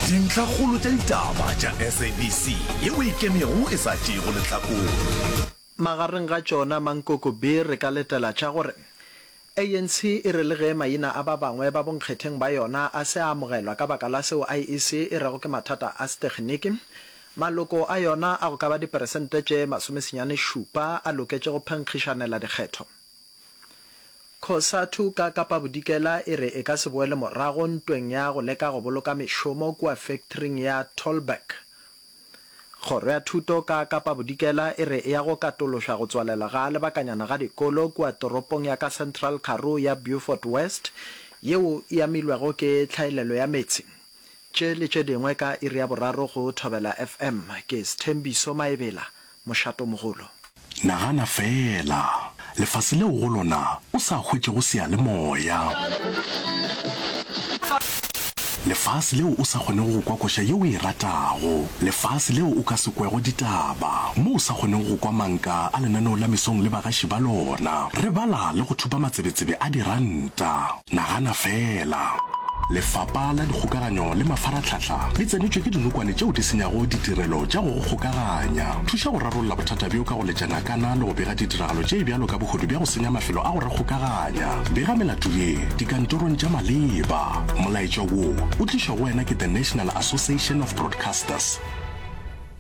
Dintlhakgolo tša ditaba tša SABC yeo e ikemego e sa tšeego lehlakore. Magareng ga tšona Mankoko B re ka letela tša gore ANC e re le ge maina a ba bangwe ba bonkgetheng ba yona a se a amogelwa ka baka la seo IEC e rego ke mathata a seteginiki, maloko a yona a go ka ba diperesente tše masomesenyane-šupa a loketše go phenkgišanela dikgetho. Cosatu ka Kapa Bodikela e re e ka se boele morago ntweng ya go leka go boloka mešomo kua fektring ya Tolberg. Kgoro ya Thuto ka Kapa Bodikela e re e ya go katološa go tswalelwa ga lebakanyana ga dikolo kua toropong ya ka Central Karoo ya Beaufort West yeo e amilwego ke tlhaelelo ya meetse. Tše le tše dingwe ka iri ya boraro go Thobela FM. Ke Sthembiso Maebela, Mošatomogolo. Nagana feela, lefase leo go lona o sa hwetšego seyalemoya. Lefase leo o sa kgonego go kwa koša ye o e ratago. Lefase leo o ka se kwego ditaba, mo o sa kgonego go kwa manka a lenaneo la mesong le bagaši ba lona. Re bala le go thopa matsebetsebe a diranta. Nagana feela! Lefapa la Dikgokaganyo le Mafarahlahla le tsenetšwe ke dinokwane tšeo di senyago ditirelo tša go go kgokaganya. Thuša go rarolla bothata bjo ka go letša nakana le go bega ditiragalo tše bjalo ka bohodu bja go senya mafelo a go re kgokaganya. Bega melato ye dikantorong tša maleba. Molaetša wo o tlišwa go wena ke The National Association of Broadcasters.